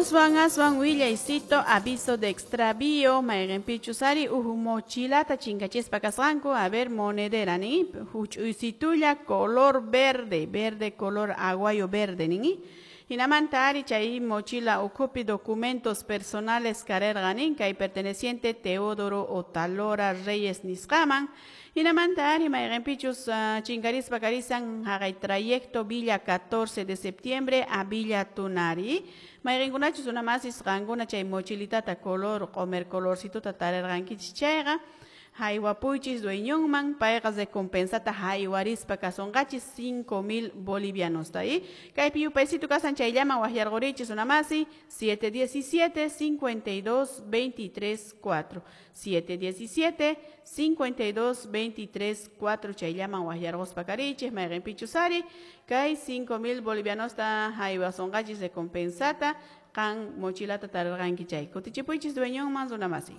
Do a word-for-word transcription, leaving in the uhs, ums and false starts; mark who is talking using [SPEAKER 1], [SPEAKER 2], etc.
[SPEAKER 1] Aswan aswan willaycito aviso de extravío mayqinpichus ari huk mochilata chinkachispa kasqanku. A ver, monedera nin, huch'uysitulla color verde, verde color aguayo verde nin. Hinamanta ari chay mochila ukhupi documentos personales karerqa nin, kay perteneciente Teodoro Otalora Reyes nisqaman. Hinamanta ari mayqinpichus uh, chinkarispa karisan haqay trayecto Villa catorce de septiembre a Villa Tunari. Mayqinkunachus una masis qankuna chay mochilitata color q'umer colorcituta tarirqankichis chayqa, haywapuychis dueñonman, payqa recompensata haywarispa kasunqachis cinco mil bolivianos y kaypi yupaysitu kasan chayllaman waqyarqurichis una masi siete diecisiete cincuenta y dos veintitrés cuatro, siete diecisiete cincuenta y dos veintitrés cuatro chayllaman waqyarquspa karichis mayqinpichus ari kay cinco mil bolivianosta haywasunqachis recompensata qan mochilata tarirqanki chay kutichipuychis dueñonman runa masi.